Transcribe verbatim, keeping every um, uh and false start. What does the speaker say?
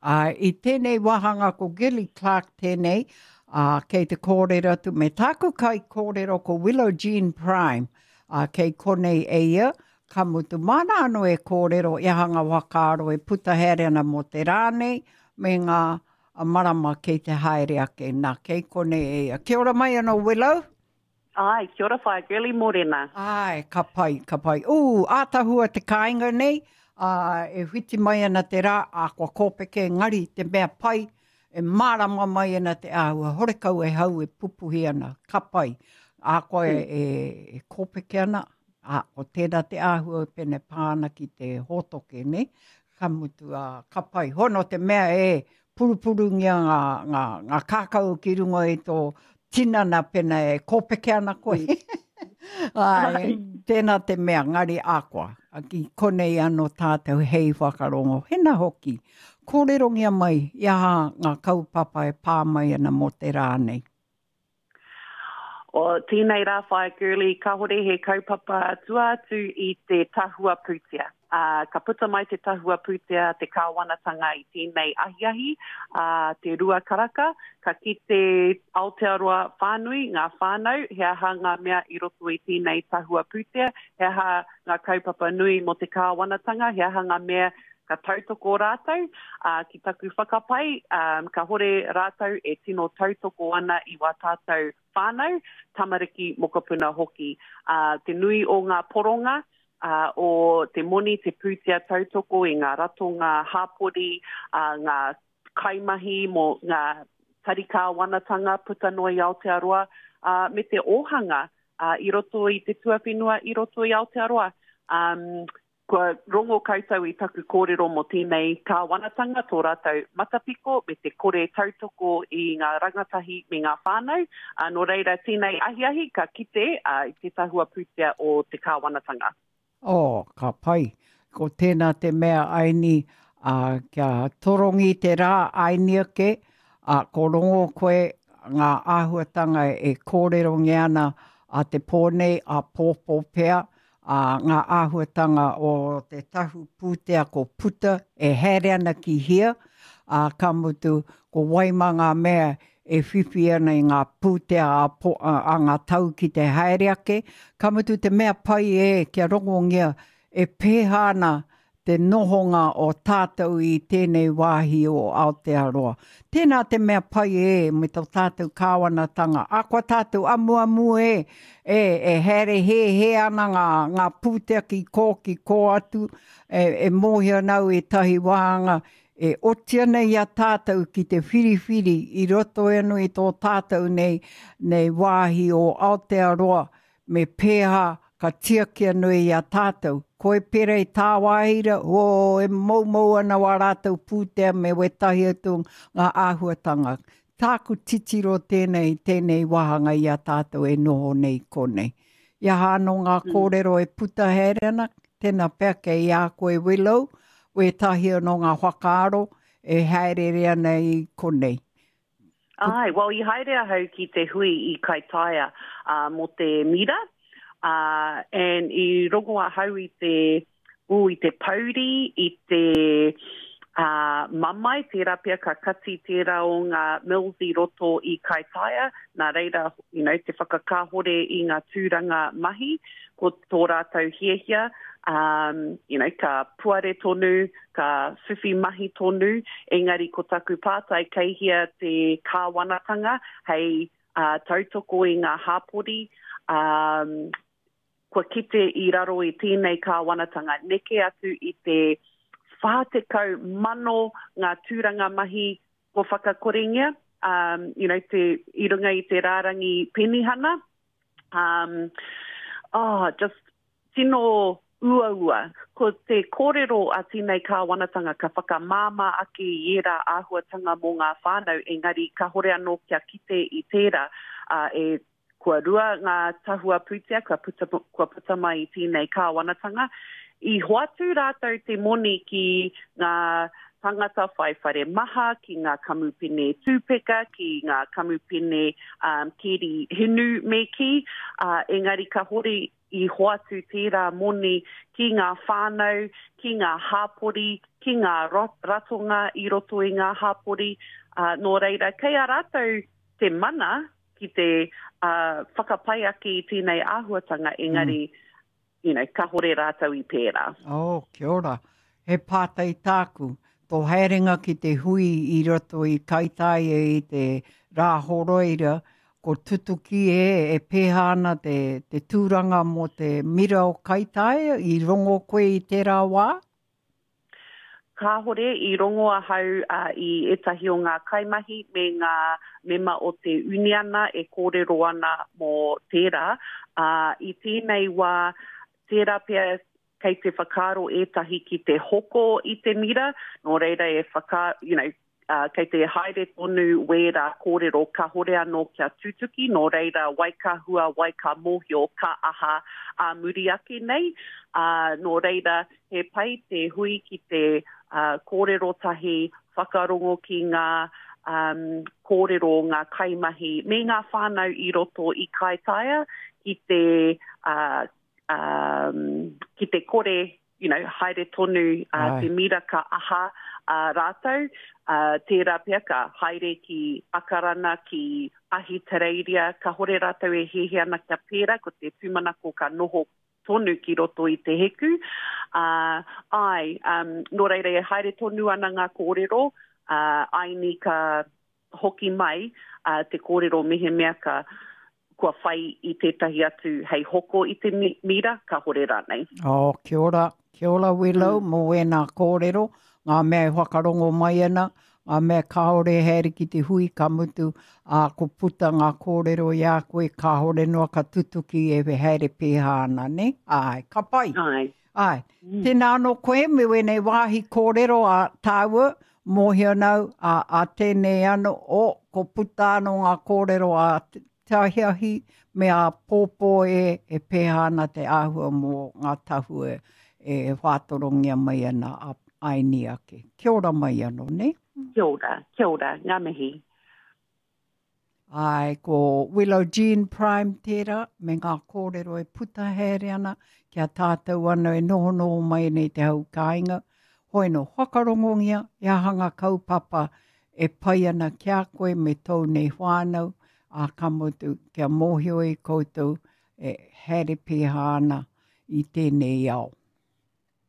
Ā, i tēnei wāhanga ko Gilly Clark tēnei, ā, kei te kōrero atu me tāku kaikōrero ko Willow Jean Prime, ā, kei konei e ia, ka mutu māna anō e kōrero i aha ngā whakaaro e puta haere ana mō te rā nei me ngā marama kei te haere ake, nā, kei konei e ia. Kia ora mai anō Willow. Āe, kia ora whaea Girlie, mōrena. Āe, ka pai, ka pai. Ū, ātahua te kāinga nei, ā, e whiti mai ana te rā, ā, kua kōpeke, engari te mea pai, e mārama mai ana te āhua, horekau e hau e pupuhi ana, ka pai. Ā, koa e, e, e kōpeke ana, ā, ko tērā te āhua pēnei pā ana ki te hōtoke, nē? Ka mutu, ā, ka pai. Hono te mea e purupurungia ngā, ngā, ngā kākau ki runga i tō tinana pena e kōpeke ana koe. Āe, tēnā te mea, ngari ākoa. Ki konei anō tātou hei whakarongo. Hena hoki, kōrerongia mai i aha ngā kaupapa e pā mai ana mō te rā nei. O tēnei rā whaea Girlie, kāhore he kaupapa tua atu i te tahua pūtea. Ā, ka puta mai te tahua pūtea a te kāwanatanga i tēnei ahiahi, ā, te rua karaka, ka kite Aotearoa whānui, ngā whānau, he aha ngā mea i roto i tēnei tahua pūtea, he aha ngā kaupapa nui mō te kāwanatanga, he aha ngā mea ka tautoko rātou, ā, ki taku whakapae, ā, kāhore rātou e tino tautoko ana i wā tātou whānau, tamariki, mokopuna hoki. Ā, te nui o ngā poronga, ā, o te moni, te pūtea tautoko i ngā ratonga hāpori, ā, ngā kaimahi mō ngā tari kāwanatanga puta noa i Aotearoa, ā, me te ōhanga, ā, i roto i te tuawhenua, i roto i Aotearoa. Ā, Kua rongo koutou i taku kōrero mō tēnei kāwanatanga, tō rātou matapiko me te kore tautoko i ngā rangatahi me ngā whānau, ā, nō reira tēnei ahiahi ka kite i te tahua pūtea o te kāwanatanga. Oh, ka pai. Ko tēnā te mea aini, ā, kia torongi te rā aini ake, ā, ko rongo koe ngā āhuatanga e kōrerongia ana a te pō nei, āpōpō pea, ā, ngā āhuatanga o te tahu pūtea ko puta e haere ana ki hea, ā, ka mutu, ko wai mā ngā mea e whiwhi ana i ngā pūtea a, a, a ngā tau ki te haere ake, ka mutu te mea pai e kia rongongia e pēhā ana te nohonga o tātou i tēnei wāhi o Aotearoa. Tēnā te mea pai e me tō tātou kāwanatanga. A kua tātou amuamu e, e, e haere hēhē ana ngā, ngā pūtea ki kō, ki kō atu, e, e mōhio ana au ētahi wāhanga e oti ana i a tātou ki te whiriwhiri i roto anō i tō tātou nei, nei wāhi o Aotearoa, me pēhā ka tiaki anō i a tātou. Koe pērā i tāwāhi ra, oh, e moumou ana wā rātou pūtea me wētahi atu ngā āhuatanga. Tāku titiro tēnei, tēnei wāhanga i a tātou e noho nei konei. I aha anō ngā mm. kōrero e puta haere ana, tēnā pea kei a koe Willow, wētahi anō ngā whakaaro e haerere ana i konei. Ai, well, i haere ahau ki te hui i Kaitaia uh, mō te mira, uh, and i rongo ahau i te, ū, i te pouri, i te uh, mamae, tērā pea ka kati tērā o ngā mills i roto i Kaitaia, nā reira, you know, te whakakāhore i ngā tūranga mahi, ko tō rātou hiahia, um, you know, ka puare tonu, ka whiwhi mahi tonu, engari ko taku pātai kei hea te kāwanatanga hei uh, tautoko i ngā hāpori, um, kua kite i raro i tēnei kāwanatanga, neke atu i te whā tekau mano ngā tūranga mahi kua whakakorengia, um, you know, te, i runga i te rārangi penihana. Um, oh, just tino uaua. Ko te kōrero a tēnei kāwanatanga ka whakamāmā ake i ērā āhuatanga mō ngā whānau, engari kāhore anō kia kite i tērā, ā, e, kua rua ngā tahua pūtea kua puta, kua puta mai i tēnei kāwanatanga. I hoatu rātou te moni ki ngā tangata whai whare maha, ki ngā kamupene tūpeka, ki ngā kamupene um, keri hinu me kī, uh, engari kahore i hoatu tērā moni ki ngā whānau, ki ngā hāpori, ki ngā ratonga i roto i ngā hāpori. Uh, nō reira, kei a rātou te mana ki te uh, whakapai ake i tēnei āhuatanga, engari, mm. you know, kahore rātou i pērā. Oh, kia ora. He pātai tāku. Tō haerenga ki te hui i roto i Kaitaia i te rā horoira, ko tutuki e, e pēhā ana te, te tūranga mō te mira o Kaitaia, i rongo koe i tērā wā? Kāhore i rongo ahau uh, i ētahi o ngā kaimahi me ngā mema o te uniana e kōrero ana mō tērā. Uh, i tēnei wā, tērā pea kei te whakaaro ētahi ki te hoko i te mira, nō reira e whaka, you know, uh, kei te haere tonu wērā kōrero kahore anō kia tutuki, nō reira wai ka hua, wai ka mōhio, ka aha a muri ake nei. Uh, nō reira he pai te hui ki te uh, kōrero tahi, whakarongo ki ngā um, kōrero, ngā kaimahi, me ngā whānau i roto i Kaitaia ki te, uh, um, ki te kore, you know, haere tonu uh, te mira ka aha uh, rātou, uh, tērā pea ka haere ki Akarana, ki Ahitereiria, ka hore rātou e hehe ana kia pērā, ko te tūmanako ka noho tonu ki roto i te heku. Uh, ai, um, nō reira e haere tonu ana ngā kōrero, uh, aini ka hoki mai uh, te kōrero mehemea ka kua whai i tētahi atu hei hoko i te mira, ka hore rānei. Oh, kia ora, kia ora Willow, mm. mō ēnā kōrero, ngā mea e whakarongo mai ana, ngā mea kāore haere ki te hui ka mutu, ā, ko puta ngā kōrero i a koe, kāhore noa ka tutuki e haere pēhā ana, ne? Ai, ka pai. Ai. Ai. Mm. Tēnā anō koe, me wēnei wāhi kōrero a tāua, mōhio nau, a, a tēnei anō, o, ko puta anō ngā kōrero a te ahiahi me a pōpō e, e pēhā ana te āhua mō ngā tahua e whātorongia mai ana a aini ake. Kia ora mai anō, ne? Kia ora, kia ora, ngā mihi. Ai, ko Willow Jean Prime tērā, me ngā kōrero e puta haere ana, kia tātou anō e nohonoho mai nei te hau kāinga. Hoi no, whakarongongia, e aha ngā kaupapa e pai ana ki a koe me tōu nei whānau, a ka mutu, kia mōhio e koutou e haere pēhā ana i tēnei ao.